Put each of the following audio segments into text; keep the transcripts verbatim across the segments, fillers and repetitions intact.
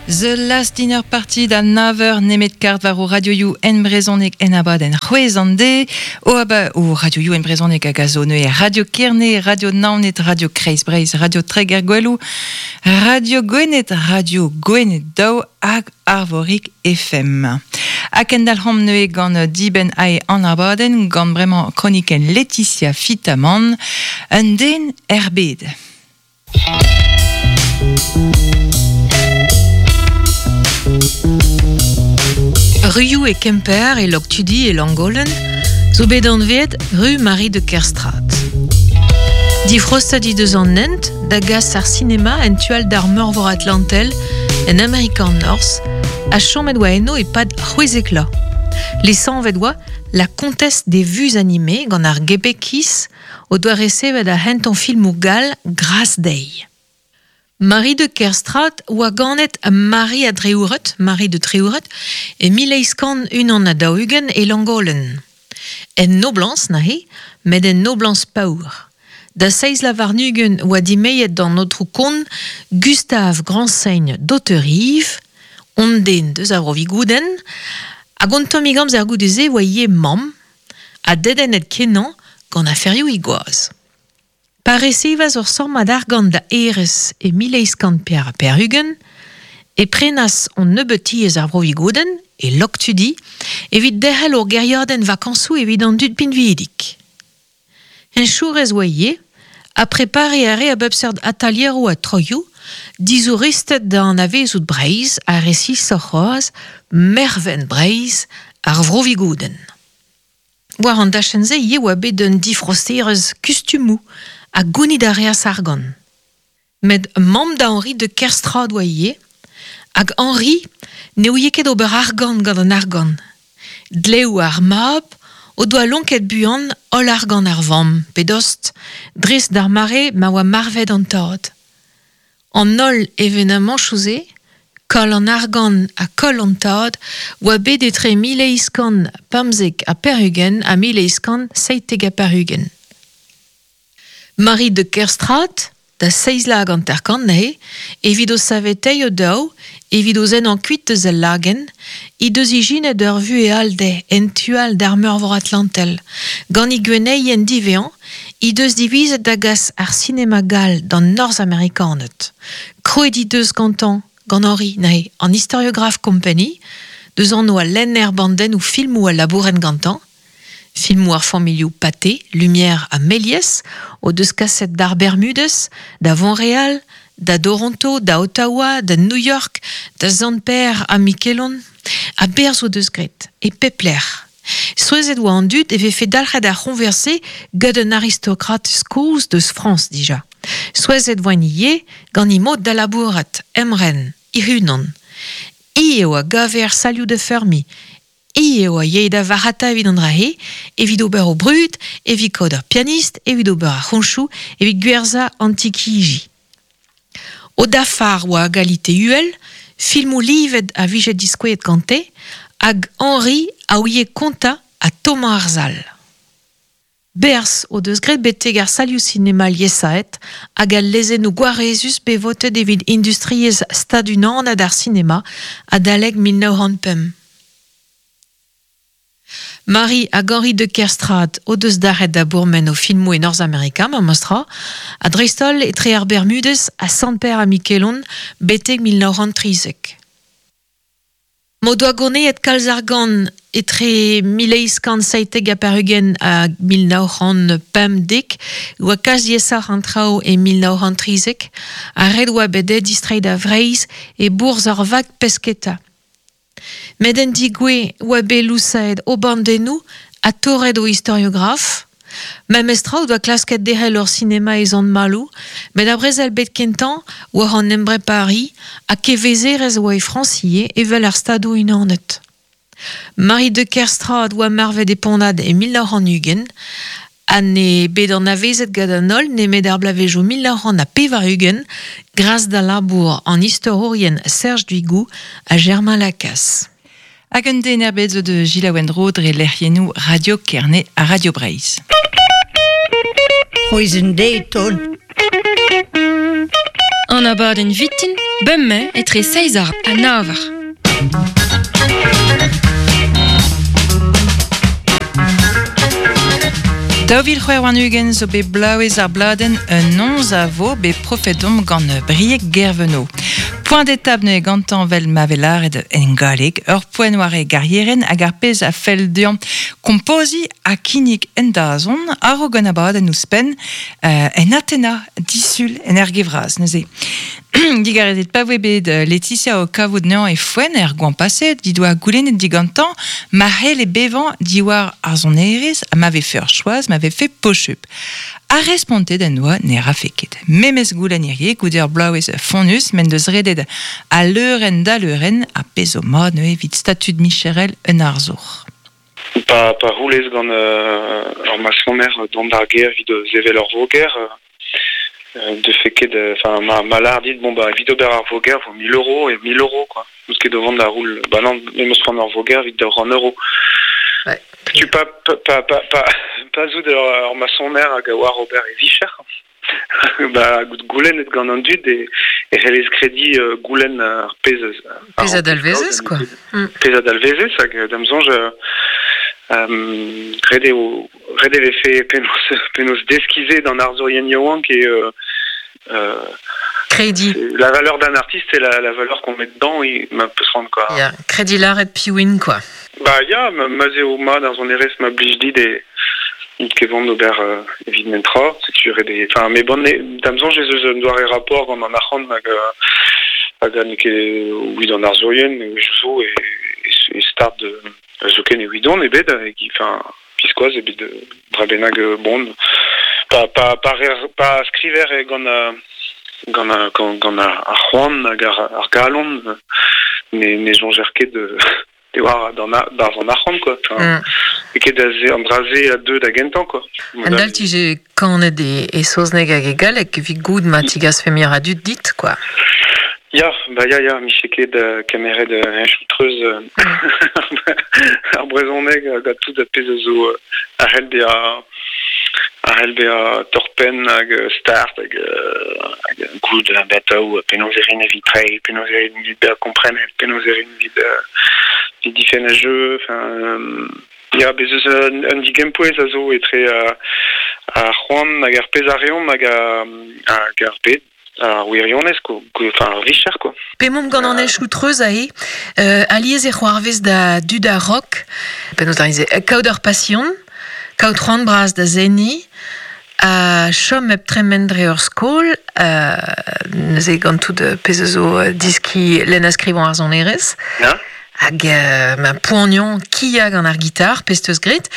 The Last Dinner Party da naver nemet kart war o radioioù en brezhoneg en abadenn c'hwez an de o aba o radioioù en brezhoneg hag a zo neuze Radio Kerne, Radio Naoned, Radio Kreiz Breizh, Radio Treger Gweloù, Radio Gwened, Radio Gwened Daou hag Arvorig F M. Hag endalc'homp neuze gant dibenn ae an abadenn gant bremañ kronikenn Laetitia Fitamant, un den er bed. Ruioù e Kemper e Loctudi e Langolen zo bet anvet Rue Marie de Kerstrat. Difrostat he deus an hent da gas ar sinema en tual d'ar meurvor Atlantel en Amerika an Norzh a chomet oa eno e-pad c'hwezek la. Lesanvet oa la comtesse des vues animées gant ar Gebekis o doa resevet ar henton filmoù gall Grace Day. Marie de Kerstrat oa ganet Marie a Dreouret, Marie de Treouret, e mil eizh kant unan ha daou-ugent e Langolen. En noblans nahe, met en noblans paour. Da seiz lavarnugen oa dimeiet d'an aotrou kont Gustave Grandsaigne d'Hauterive, on den deus ar Rovigouden, hag on tamm gamz ar goude-se oa ivez mamm, ha dedennet kenañ gant aferioù he gwaz. Pa resevas ur sammad argant da erez e mil eizh kant pevar ha pevar-ugent, e prenas on nebeut tiez ar Vrovigouden e Loctudi evit derc'hel ur gêriadenn vakañsoù evit an dud pinvidik. Henchourez oa ivez, ha prepare a re a bep seurt atalieroù ha troioù, dizouristed da anavezout Breizh ha resisoc'h c'hoazh mervent Breizh ar Vrovigouden. War an dachenn-se ivez oa bet un difrosterezh kustumoù ha gounid a reas argant. Met mamm da Henri de Kerstrat oa ivez, hag Henri ne ouie ket ober argant gant an argant. Dleoù ar mab o doa lonket buan holl argant ar vamm, pe dost, dres d'ar mare ma oa marvet an tad. An holl evenamanchoù-se, koll an argant ha koll an tad, oa bet etre mil eizh kant pemzek ha pevar-ugent ha mil eizh kant seitek ha pevar-ugent. Marie de Kerstrat, da seizh lag hanter-kant neuze, evit o saveteiñ o daou, evit o zennañ kuit eus al lagenn, he deus ijinet ur vuhez all dezhe en tu all d'ar meurvor Atlantel. Gant he gwenneien divezañ, he deus divizet da gas ar sinema gall d'an Norzh-Amerikaned. Krouet he deus gantañ, gant Henri neuze, an Historiograph Company, deus anv al lenner bandennoù filmoù a labouren gantañ, filmoù ar familhoù Pathé, Lumière ha Méliès, o deus kaset d'ar Bermudes, da Montréal, da Toronto, da Ottawa, da New York, da Sant-Pêr ha Mikelon, ha berzh o deus graet, e pep lec'h. Souezhet oa an dud e vefe dalc'het ar c'hoñvers-se gant un aristokrat kozh deus Frañs dija. Souezhet oa ivez gant he mod da labourat, emren, hec'h-unan. Hi eo a gave ar salioù da feurmiñ, hi eo a yae da varc'hata evit an dra-se, evit ober o brud, evit kaout ur pianist, evit ober ar c'hoñchoù, evit gwerzhañ an tikiji. O dafar oa a galite uhel, filmoù livet a vije diskouezet gante, hag Henri a ouie kontañ ha tommañ ar sal. Berzh o deus graet betek ar salioù sinema liesaet hag al lezennoù gwarezus bet votet evit industriezh stadunanat ar sinema adalek mil nav c'hant pemp. Marie hag Henri de Kerstrat o deus dalc'het da bourmen o filmoù e Norzh-Amerika, ma mostra, ha dreist-holl etre ar Bermudes ha Sant-Pêr ha Mikelon betek mil nav c'hant trizek. M'o doa goneet kalz argant etre mil eizh kant seitek ha pevar-ugent ha mil nav c'hant pemdek, oa kalz diaesoc'h an traoù e mil nav c'hant trizek, ha ret oa bet dezhe distreiñ da Vreizh e bourzh ur vag pesketa. Met en digouez oa bet lousaet o bandennoù ha torret o historiograf. Memestra o doa klasket derc'hel ur sinema e Sant-Maloù, met ar brezel bet kentañ war an embrepari ha kevezerezh oa e Frañs ivez evel ar Stadoù Unanet. Marie de Kerstrat oa marvet e Ponnad e mil nav c'hant ugent, ha ne bet anavezet gant an holl nemet ar bloavezhioù mil nav c'hant ha pevar-ugent gras da labour an istorourien Serge Duigou ha Germain Lacasse. Hag un den er bed zo de Gilles Wendro dre lec'hiennoù Radio Kerne ha Radio Breizh. C'hwezh un deiz ton. An abadenn vitin, bemmañ etre seizh eur ha nav eur. Daou vil c'hwec'h warn-ugent zo bet blaouez ar bladenn un onz a vo bet profet omp gant Brieg Guerveno. Point d'étape ne gantañ vel ma velaret en galleg, ur poent war e garieren hag ar pezh a fell dezhañ kompoziñ ha kinnig en dazont a-raok an abadenn ouzhpenn euh, en Atena disul en Ergevraz neuze. Digarezet pa voe bet Laetitia o kavout neañ e foenn er goan paset, di doa goulennet digantañ ma c'hell e bevañ diwar ar sonerezh ha ma vefe ur choaz, ma vefe pochup. A respontet en doa ne rafe ket. Memes goulenn hirie goude ur bloavezh fonnus men deus redet a leurenn da leurenn a pezh zo mat neuze evit statud micherel un arzour. Pa, pa roulez gant euh, ur masoner dont ar ger evit sevel ur voger, euh, de fait ket, enfin ma, ma lar dit bon bah evit ober ar voger vo mille euros et mille euros quoi. Parce que devant la roule, bah non, me meus c'hoant ur voger evit d'ur un euro. Ouais. Tu pas pas pas pas pas pas zout ur masoner hag a oar ober e vicher. Bah goulenn et gant an dud e e c'hellez kredi euh, goulenn ar pezh pezh a dalvezez quoi. Pezh a dalvezez hag da'm soñj euh, ret eo ret e vefe penaos penaos deskize d'an arzourien yaouank e euh, euh, Crédit. La valeur d'un artiste et la, la valeur qu'on met dedans, il m'a peut se rendre quoi. Ya, crédit lâret piwin quoi. Bah ya, ma ma zeo ma dans son erez ma blij dit e ket vont ober euh, evit mentra, setu ret e enfin mais bon da'm soñj ez eus un doare rapport gant an arc'hant hag hag an ket oui d'an arzourien e zo e e start de zoken e widon ebet hag enfin piskoaz ebet dra bennak bon pa pa pa pa skriver e gant gant gant gant ar c'hoant hag ar, ar galon ne ne soñjer ket de de war d'an barzh an arc'hant quoi. Enfin, mm. E ket da ze an dra-se a deux da gentañ quoi. An dal tije kanet e, e saozneg hag e galleg evit goud ma tigas femir a dud dit quoi. Ya, bah ya ya, miche ket uh, kemeret uh, un choutreuz uh, ar brezhoneg hag a tout a pezh a zo uh, a c'hell bezañ a c'hell bezañ torpenn hag start hag hag goud a bataou penaos e rin evit treiñ, penaos e rin evit bezañ komprenet, penaos e rin evit evit difenn a jeu, enfin euh, ya, bez eus un, un digempouez a zo etre uh, ar c'hoant hag ar pezh a reomp hag hag ar bed. Ar wirionez, ko, enfin ar vicher, quoi. Pemomp gant an ech outreuz a e, euh, aliez e c'hoarvez da dud a rock, penaos da rize, kaout ur passion, kaout c'hoant bras da zeni, a chom hep tremen dre ur skol, euh, neuze gant tout pezh zo diski lenn a skrivañ ar sonerezh, yeah. Hag euh, ma poanion kia gant ar gitar, pezh teus grit.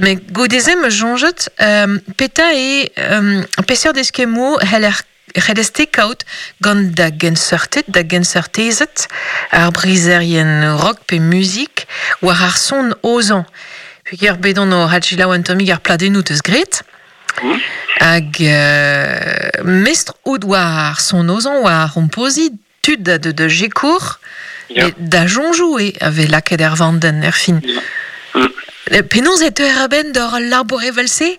Mais godeze me soñjet, euh, peta e euh, peseurt eskemmoù c'heller c'hellez-te kaout gant da genseurted, da genseurtezed, ar brizerien rock pe muzik, war ar son ozañ. Peogwir bet on o hadjilaou an tammig ar pladennoù teus gret. Mm. Hag euh, mestr out war ar son ozañ, war ar c'hompoziñ, tud da de, de jekour, yeah. Da soñjoù e ave lakaet er vandenn er fin. Yeah. Mm. Penaos e teuer a-benn d'ur labour evel-se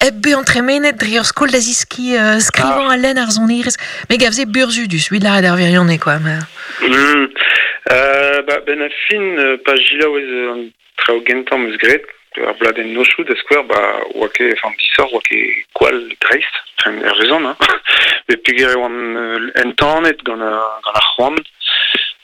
hep bezañ tremenet dre ur skol da ziski euh, skrivañ ah. a lenn ar sonerezh. Me gavze burzhudus, evit lâret ar wirionez quoi. Mais... Mm. Euh, bah, ben a fin, pa jilaou ez an traoù gentañ meus graet, ar bladenn nochoù da skouer, bah, oa ket, enfin, disoc'h, oa ket gwall dreist, enfin, er rezon, hein. Met peogwir e oan entanet gant gant ar c'hoant,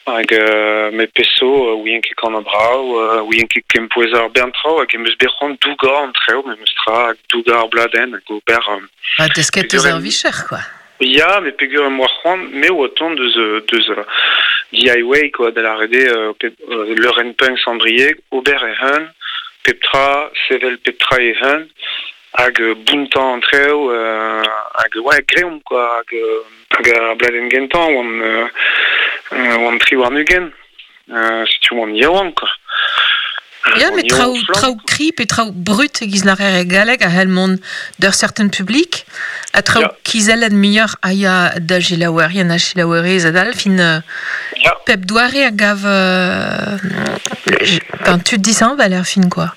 hag euh, me peso ouien ket gant an brav, ouien ket kempouez ar bern traoù, hag em eus bet c'hoant dougañ an traoù, memes tra, hag dougañ ar bladenn, hag ober... Euh, ah, desket eus ar vicher, quoi. Ya, mais peogwir em boa c'hoant, me oa tont deus, deus D I Y, quoi, da lâret eo, euh, leurenn punk Sandrieg, ober e hun, pep tra, sevel pep tra e hun, hag bountañ an traoù, euh, hag ouais, greomp, quoi, hag, hag ar bladenn gentañ, oan, euh, oan tri warn-ugent, euh, setu oan yaouank, quoi. Ya, mais traoù, traoù kri pe traoù brut e giz lârer e galleg a c'hell mont d'ur certain public, a traoù yeah. kizellet muioc'h a ya da selaouerien a selaouerez adal, fin yeah. pep doare a gav euh, ben, tud dishañval er fin, quoi.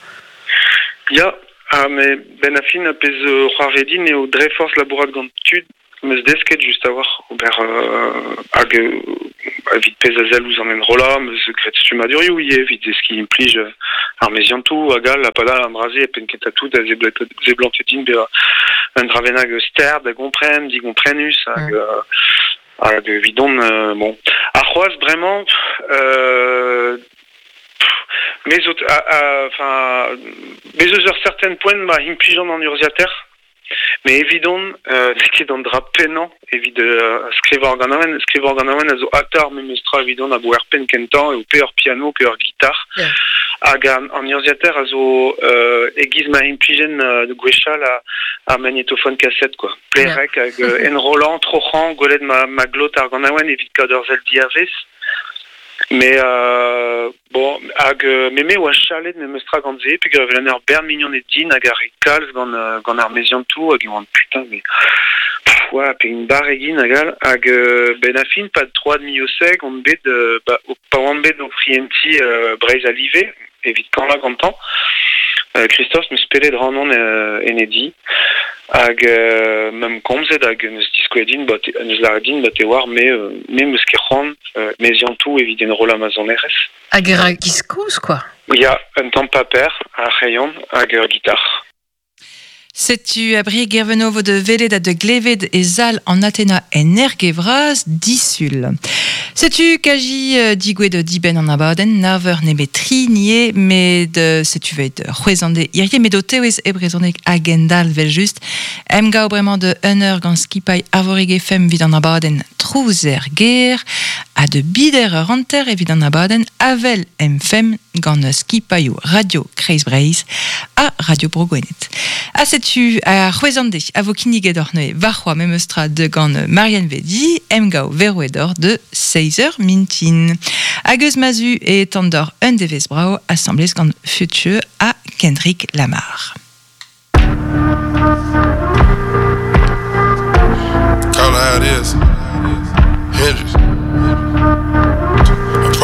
Ya, ah, mais ben a fin a pezh c'hoarvedin eo dre forzh labourat gant tud Meus desket just a war ober euh, hag euh, evit pez a zel ouz an enrolla, meus gret stumadurioù ivez evit deski implij euh, ar meziantoù hag all, ha padal an draze e penn kentañ tout a zeblant din bezañ un dravenag ster da gompren, digomprenus hag mm. euh, hag evidon euh, bon. Ar c'hoaz bremañ euh, mez enfin mez eus ur certain poent ma implijan an urzhiataer. Mais evidon, euh, n'eo ket an dra pennañ evit euh, skrivañ ar ganaouenn, skrivañ ar ganaouenn a zo atar memes tra evidon a bo er penn kentañ eo pe ur piano pe ur gitar. Yeah. Hag an, an urzhiataer a zo euh, e-giz ma implijen euh, gwechall a, ar magnétophone cassette quoi. Plerek yeah. hag euh, enrollant, troc'hañ, gwelet ma, ma glot ar ganaouenn evit kaout ur sell diavez. Mais euh, bon, hag euh, me me oa chalet memes tra gant se, peogwir evel an ur bern mignon et din hag ar re kalz gant, euh, gant ar meziantoù hag e oan putain mais pff, oa, pe un bar egin hag all, hag euh, ben a fin pad troad mioseg on bet euh, ba, o, pa oan bet o prienti euh, Breizh a live evit kanla gantañ. Euh, Christophe meus pelet rannon euh, enedi hag euh, mem komzet hag neus diskouet din ba te, neus lâret din ba te war me euh, me meus ket c'hoant euh, meziantoù evit enrollañ ma sonerezh. Hag era giz kozh quoi. Ya, un tamm paper, ar c'hreion hag ur gitar. Setu a bri gervenovo de velet a de gleved e zal an Athena en ergevraz disul. Setu kaji euh, digouet de diben an abadenn, naver nebe tri nie, met euh, setu vet c'hwezande irie, met o tewez e brezhoneg agendal vel just. Em gao bremañ de un eur gant skipailh Arvorig F M evit an abadenn Trouzer ger, ha de bider ur hanter evit an abadenn Avel M F M gant skipailhoù Radio Kreiz Breizh ha Radio Bro Gwened. Ha setu a c'hwezande a vo kinniget oc'h neuze warc'hoazh memes tra de gant Marianne Vedi, em gao Veroedor de seiz eur mintin. Hag eus mazu e tandor un devezh brao assemblez gant Future ha Kendrick Lamar.